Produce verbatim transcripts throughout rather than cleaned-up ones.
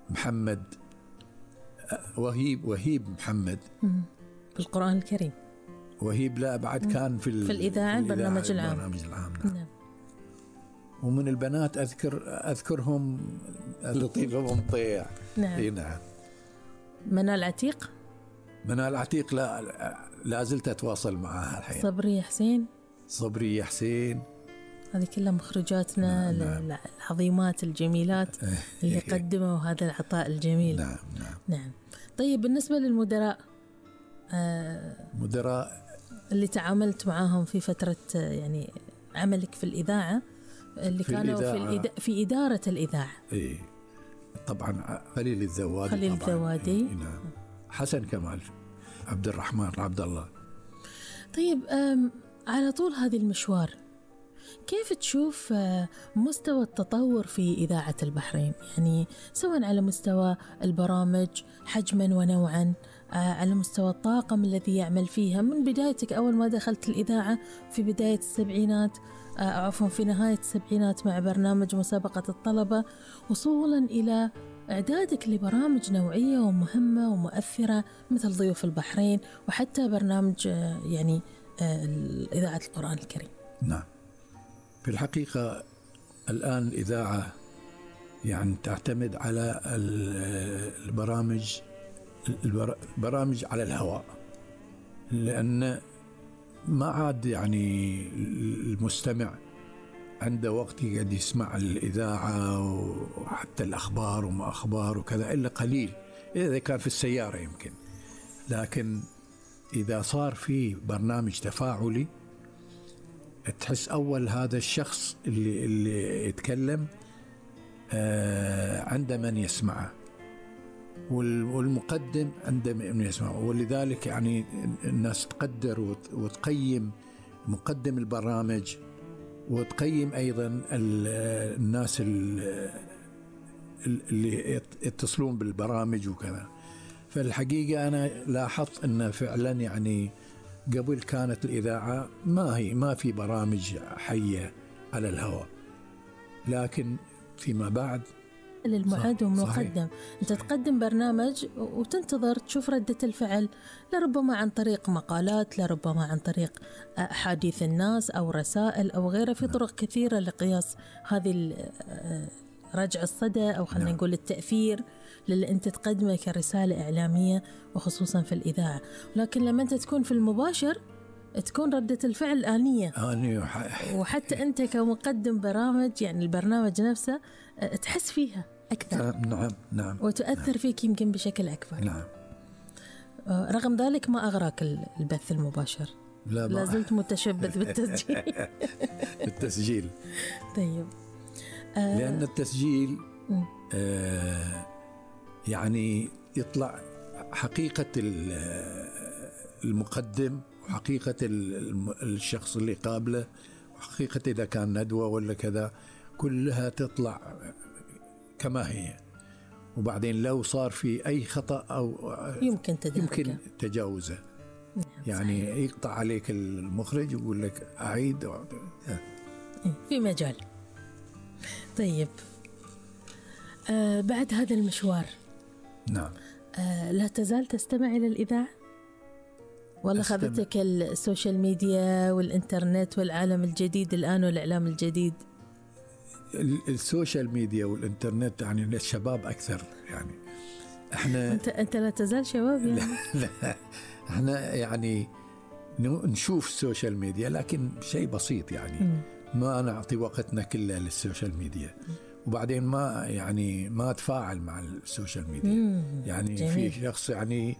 محمد وهيب وهيب محمد بالقرآن الكريم. وهيب لا بعد كان في, في الإذاعة البرنامج العام, البرنامج العام نعم. نعم. ومن البنات أذكر أذكرهم لطيفة مطيع. نعم. نعم. منال عتيق. منال عتيق لا لا زلت أتواصل معها الحين. صبري حسين. صبري حسين. هذه كلها مخرجاتنا. نعم. نعم. العظيمات الجميلات اللي قدموا هذا العطاء الجميل. نعم نعم. نعم. طيب بالنسبة للمدراء آه مدراء اللي تعاملت معاهم في فترة يعني عملك في الإذاعة اللي في كانوا الإذاعة. في الإد... في إدارة الإذاعة. إيه طبعا خليل الذوادي. خليل الذوادي. إيه نعم. حسن كمال، عبد الرحمن عبد الله. طيب على طول هذه المشوار كيف تشوف مستوى التطور في إذاعة البحرين؟ يعني سواء على مستوى البرامج حجما ونوعا، على مستوى الطاقم الذي يعمل فيها من بدايتك أول ما دخلت الإذاعة في بداية السبعينات، عفوا في نهاية السبعينات مع برنامج مسابقة الطلبة، وصولا إلى إعدادك لبرامج نوعية ومهمة ومؤثرة مثل ضيوف البحرين، وحتى برنامج يعني إذاعة القرآن الكريم. نعم. في الحقيقة الآن الإذاعة يعني تعتمد على البرامج البرامج على الهواء، لأن ما عاد يعني المستمع عنده وقت يقعد يسمع الإذاعة وحتى الأخبار وما أخبار وكذا إلا قليل، إذا كان في السيارة يمكن. لكن إذا صار في برنامج تفاعلي تحس أول هذا الشخص اللي اللي يتكلم آه عنده من يسمعه، والمقدم عنده من يسمعه، ولذلك يعني الناس تقدر وتقيم مقدم البرامج، وتقيم أيضا الناس اللي يتصلون بالبرامج وكذا. فالحقيقة أنا لاحظت أن فعلا يعني قبل كانت الإذاعة ما هي ما في برامج حية على الهواء، لكن فيما بعد للمعد ومقدم أنت تقدم برنامج وتنتظر تشوف ردة الفعل، لربما عن طريق مقالات، لربما عن طريق أحاديث الناس أو رسائل أو غيرها، في طرق كثيرة لقياس هذه رجع الصدى أو خلينا نقول التأثير للي أنت تقدمه كرسالة إعلامية وخصوصا في الإذاعة. لكن لما أنت تكون في المباشر تكون ردة الفعل آنية، وحتى أنت كمقدم برامج يعني البرنامج نفسه تحس فيها أكثر. نعم نعم. وتؤثر نعم. فيك يمكن بشكل أكبر. نعم. رغم ذلك ما أغراك البث المباشر؟ لا, لا زلت متشبث بالتسجيل. التسجيل. طيب. آه لأن التسجيل آه يعني يطلع حقيقة المقدم وحقيقة الشخص اللي قابله، وحقيقة إذا كان ندوة ولا كذا كلها تطلع كما هي. وبعدين لو صار في أي خطأ أو يمكن تدرجه يمكن تجاوزه. نعم يعني صحيح. يقطع عليك المخرج ويقول لك أعيد في مجال. طيب آه بعد هذا المشوار نعم آه لا تزال تستمع إلى الإذاعة ولا خذتك السوشيال ميديا والإنترنت والعالم الجديد الآن والإعلام الجديد؟ السوشيال ميديا والإنترنت يعني للشباب أكثر. يعني إحنا أنت أنت لا تزال شباب يعني. لا, لا إحنا يعني نشوف السوشيال ميديا لكن شيء بسيط يعني م. ما نعطي وقتنا كله للسوشيال ميديا، وبعدين ما يعني ما أتفاعل مع السوشيال ميديا. مم. يعني جميل. في شخص يعني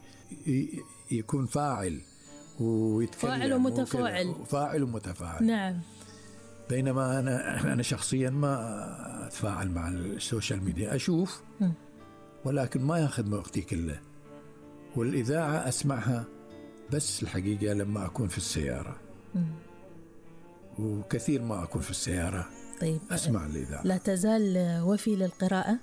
يكون فاعل ويتكلم، فاعل ومتفاعل، فاعل ومتفاعل. نعم. بينما أنا أنا شخصيا ما أتفاعل مع السوشيال ميديا، أشوف مم. ولكن ما يأخذ وقتي كله. والإذاعة أسمعها بس الحقيقة لما أكون في السيارة. مم. وكثير ما أكون في السيارة. طيب أسمع الإذاعة. لا تزال وفي للقراءة؟